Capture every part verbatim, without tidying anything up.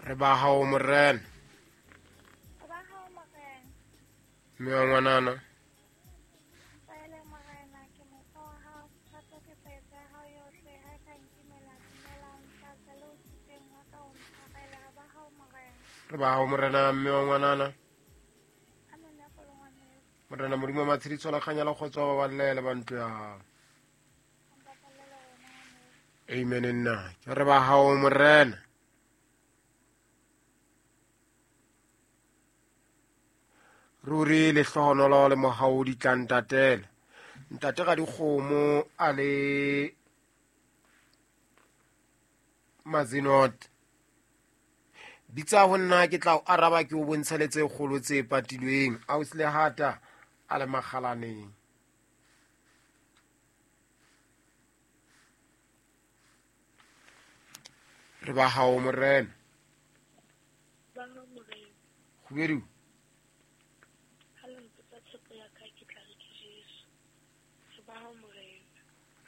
Re ba hao morena. Ba hao morena. Mme wa ngwanana. Tsele morena ke motho wa hao, thato ke petse hao yohle ha ka nkimela dumela ntlatse le o thuteng wa ka o ntshwarele. Re ba hao morena. Re ba hao morena mme wa ngwanana. Amen ya polo ngwaneso. Morena Modimo wa matshediso le kganya le kgotso ba ballele ba ntlo ya hao. Amen nna. Ke re ba hao morena. Ruri lehlohonolo le mohau di tla ntatela. Ntate ga dikgomo a le Mazinot. Bitsa ho nna ke tla o araba ke o bontshe le tse kgolo tse patilweng. Ausi Lehata a le makgalaneng. Re ba hao morena. Ba hao morena. Kgubedu. Ha le mpotsa tshepo ya ka ke tla re ke Jesu. Re ba hao morena.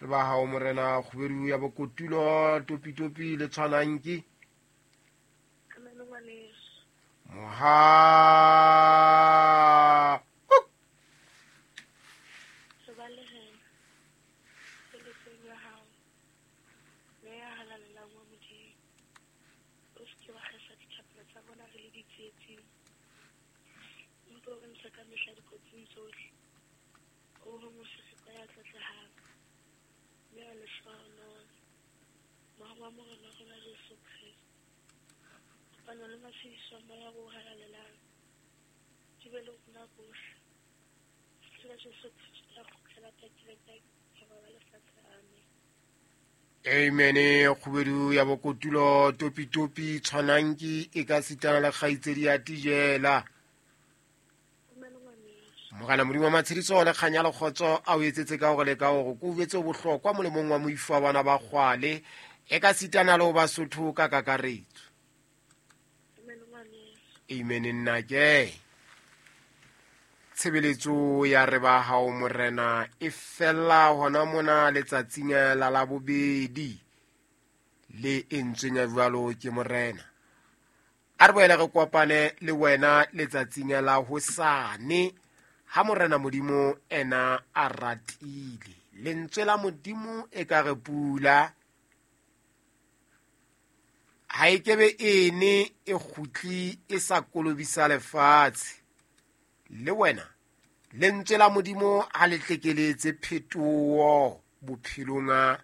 Re ba hao morena kgubedu ya bokotulo topi topi le tshwanang ke. Amen ngwaneso. Moha. Re ba le rena. Tsheletseng ya hao. Meya halalelang wa Modimo. O se ke wa kgesa dithapelo tsa rona re le ditsietsing. Empa o re ntshe ka mehla dikotsing tsohle. O ho moseseko ya tlotlehang. Mme wa lehlohonolo. Mohau wa Morena rona Jesu Kreste. Kopano le matshediso a Moya o halalelang. Di be le rona bohle. Fihlela Jesu Kreste a kgutlela pakileng ka thabo ba lefatshe. Amen. Amen. Kgubedu ya bokotulo topi topi tshwanang ke e ka sitana le kgaitsedi ya tijela. Amen ngwaneso. Morena Modimo wa matshediso le kganya le kgotso a o etsetse ka hore le ka hore ko o etse bohlokwa molemong wa moifo wa bana ba kgwale e ka sitana le ho Basotho ka kakaretso. Amen ngwaneso. Amen nna ke. Tshebeletso ya re ba hao morena e fella hona mona letsatsing la Labobedi le entsweng ya jwalo ke morena. A re boele re kopane le wena letsatsing la hosane ha morena Modimo ena a ratile. Lentswe la Modimo e ka re pula ha e kebe ene e kgutli e sa kolobisa lefatshe. Le wena lentswe la Modimo ha le tlekeletse phetoho bophelong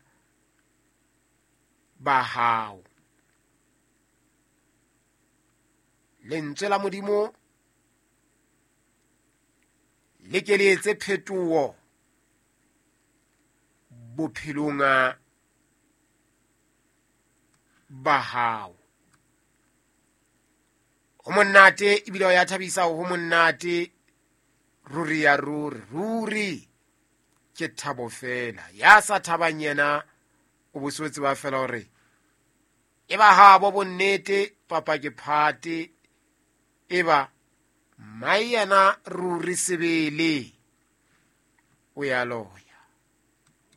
ba hao. Lentswe la Modimo le keletse phetoho bophelong ba hao. Ho monate ebile o ya thabisa ho monate ruri ya ruri ruri ke thabo fela. Ya sa thabang yena o bo tseba fela hore e ba habo bonnete papa ke phate e ba mai yena ruri sebele o ya loya.